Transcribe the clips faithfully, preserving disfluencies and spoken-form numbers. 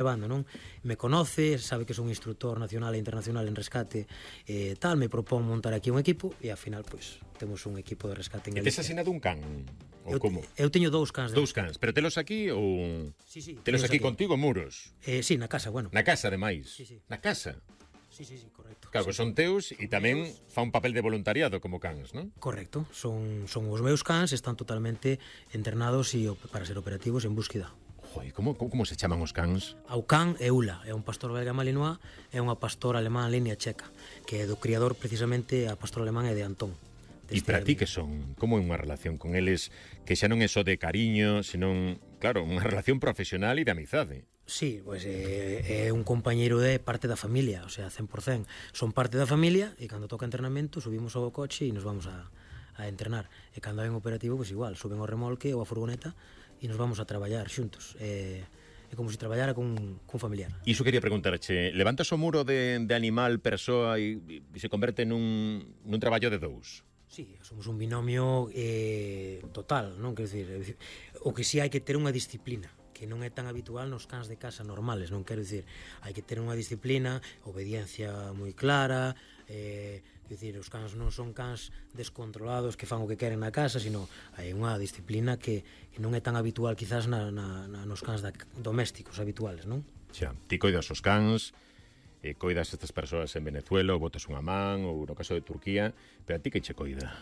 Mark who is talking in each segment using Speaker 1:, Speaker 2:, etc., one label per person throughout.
Speaker 1: levando, non? Me conoce, sabe que son instructor nacional e internacional en rescate e tal, me propón montar aquí un equipo e ao final, pois, temos un equipo de rescate en
Speaker 2: E
Speaker 1: Galicia.
Speaker 2: tes asinado un can? Ou
Speaker 1: Eu,
Speaker 2: como?
Speaker 1: eu teño dous cans. De
Speaker 2: Dous cans, pero telos aquí ou...
Speaker 1: Sí, sí.
Speaker 2: Telos aquí, aquí contigo, Muros?
Speaker 1: Eh, sí, na casa, bueno.
Speaker 2: Na casa, ademais?
Speaker 1: Sí, sí.
Speaker 2: Na casa?
Speaker 1: Sí, sí, sí, correcto.
Speaker 2: Claro,
Speaker 1: sí,
Speaker 2: que son
Speaker 1: sí.
Speaker 2: teus e tamén fa un papel de voluntariado como cans, non?
Speaker 1: Correcto, son, son os meus cans, están totalmente entrenados e para ser operativos en búsqueda.
Speaker 2: Joi, como, como, como se chaman os cans?
Speaker 1: Ao can é Ula, é un pastor belga malinois, é unha pastora alemán línea checa, que é do criador precisamente a pastor alemán é de Antón.
Speaker 2: E para ti que son? Como é unha relación con eles que xa non é só de cariño, senón, claro, unha relación profesional e de amizade?
Speaker 1: Sí, pois é, é un compañeiro de parte da familia, o sea, cen por cen. Son parte da familia e cando toca entrenamento subimos ao coche e nos vamos a, a entrenar. E cando hai un operativo, pois igual, suben ao remolque ou a furgoneta e nos vamos a traballar xuntos. É, é como se traballara con, con familiar.
Speaker 2: Iso quería preguntarche, levantas o muro de, de animal, persoa e, e se converte nun, nun traballo de dous?
Speaker 1: Sí, somos un binomio eh, total, non? Quero dicir, o que si hai que ter unha disciplina que non é tan habitual nos cans de casa normales, non quero dicir, hai que ter unha disciplina, obediencia moi clara, eh, quero dicir, os cans non son cans descontrolados que fan o que queren na casa, sino hai unha disciplina que, que non é tan habitual quizás na, na, na, nos cans da, domésticos habituales, non?
Speaker 2: Xa, ti coidas os cans, e coidas estas persoas en Venezuela, ou botas unha man, ou no caso de Turquía, pero a ti que che coida?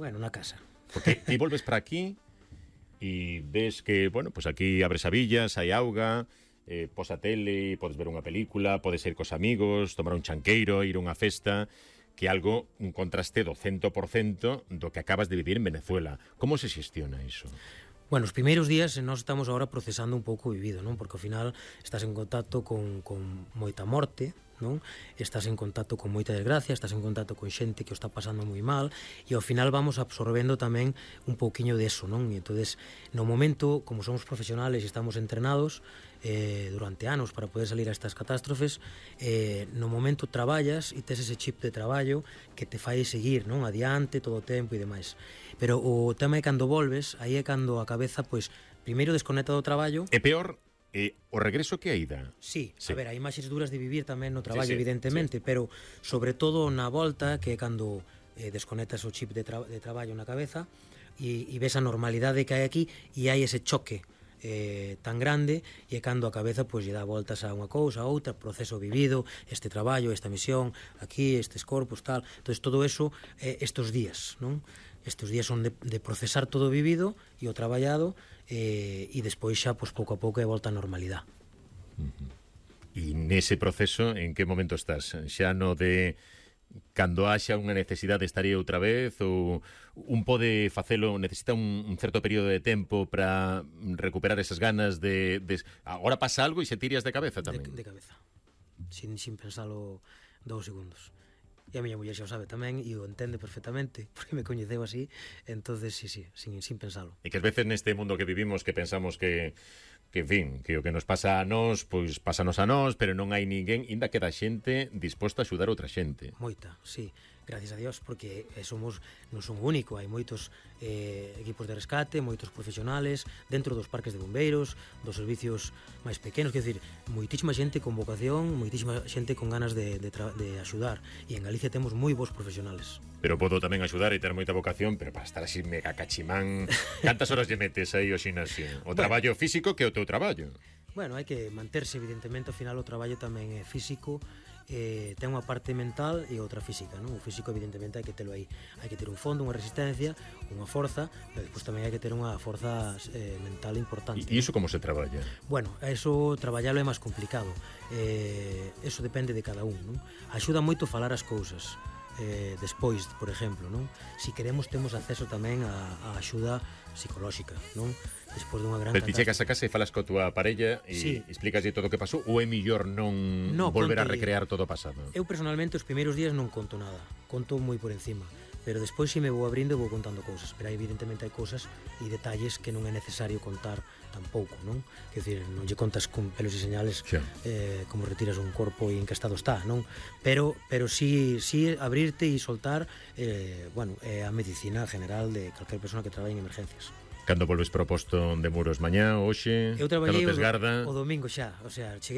Speaker 1: Bueno, na casa.
Speaker 2: Porque ti volves para aquí e ves que, bueno, pues aquí abres a villas, hai auga, eh, pos a tele, podes ver unha película, podes ir cos amigos, tomar un chanqueiro, ir a unha festa, que algo, un contraste do cento por cento do que acabas de vivir en Venezuela. Como se xestiona iso?
Speaker 1: Bueno, os primeiros días nós estamos agora procesando un pouco o vivido, non? Porque ao final estás en contacto con, con moita morte, non? Estás en contacto con moita desgracia, estás en contacto con xente que o está pasando moi mal e ao final vamos absorbendo tamén un pouquiño de eso, non? E entonces, no momento, como somos profesionales e estamos entrenados eh, durante anos para poder salir a estas catástrofes, eh, no momento traballas e tes ese chip de traballo que te fai seguir, non? Adiante todo o tempo e demais. Pero o tema é cando volves, aí é cando a cabeza, pois, primeiro desconecta do traballo.
Speaker 2: É peor E o regreso que a ida?
Speaker 1: Sí,
Speaker 2: sí,
Speaker 1: a ver, hai imaxes duras de vivir tamén no traballo,
Speaker 2: sí, sí,
Speaker 1: evidentemente,
Speaker 2: sí.
Speaker 1: pero sobre todo na volta, que é cando eh, desconectas o chip de, tra de traballo na cabeza e, e ves a normalidade que hai aquí e hai ese choque eh, tan grande e é cando a cabeza pois lle dá voltas a unha cousa, a outra, proceso vivido, este traballo, esta misión, aquí, estes corpos, tal. Entón, todo eso, eh, estes días, non? Estes días son de, de procesar todo o vivido e o traballado eh, e despois xa, pois, pouco a pouco é volta á normalidade.
Speaker 2: Uh-huh. E nese proceso, en que momento estás? Xa no de cando haxa unha necesidade estaría outra vez ou un pode facelo, necesita un, un certo período de tempo para recuperar esas ganas de, de... Agora pasa algo e se tiras de cabeza tamén?
Speaker 1: De, de cabeza, sin, sin pensalo dous segundos. E a miña muller xa o sabe tamén e o entende perfectamente porque me coñeceu así, entonces sí, sí, sin, sin pensalo.
Speaker 2: E que as veces neste mundo que vivimos que pensamos que que, en fin, que o que nos pasa a nós, pois pásanos a nós, pero non hai ninguén, inda queda xente disposta a axudar outra xente.
Speaker 1: Moita, sí, gracias a Dios, porque somos, non son único, hai moitos eh, equipos de rescate, moitos profesionales, dentro dos parques de bombeiros, dos servicios máis pequenos, quer dizer, moitísima xente con vocación, moitísima xente con ganas de, de, de axudar, e en Galicia temos moi bons profesionales.
Speaker 2: Pero podo tamén axudar e ter moita vocación, pero para estar así mega cachimán, cantas horas lle metes aí ao xinasio? O bueno, traballo físico que o teu traballo?
Speaker 1: Bueno, hai que manterse, evidentemente, ao final o traballo tamén é físico, eh, ten unha parte mental e outra física, non? O físico, evidentemente, hai que telo aí. Hai que ter un fondo, unha resistencia, unha forza, pero despois tamén hai que ter unha forza eh, mental importante.
Speaker 2: E iso como se traballa?
Speaker 1: Bueno, eso traballalo é máis complicado. Eh, eso depende de cada un, non? Axuda moito falar as cousas. Eh, despois, por exemplo, non? Si queremos temos acceso tamén a, a axuda psicolóxica, non? Despois dunha gran
Speaker 2: Pero ti chegas a casa e falas coa túa parella e
Speaker 1: sí.
Speaker 2: explícaslle todo o que pasou ou é mellor non
Speaker 1: no,
Speaker 2: volver
Speaker 1: conte...
Speaker 2: a recrear todo o pasado?
Speaker 1: Eu personalmente os primeiros días non conto nada, conto moi por encima, pero despois se me vou abrindo vou contando cousas, pero evidentemente hai cousas e detalles que non é necesario contar tampouco, non? Quer dizer, non lle contas con pelos e señales sí. eh, como retiras un corpo e en que estado está, non? Pero pero si, si abrirte e soltar eh, bueno, é a medicina general de calquer persona que traballe en emergencias.
Speaker 2: Cando volves proposto de Muros mañá, hoxe,
Speaker 1: eu traballei
Speaker 2: cando tes garda...
Speaker 1: o, o domingo xa, o sea, cheguei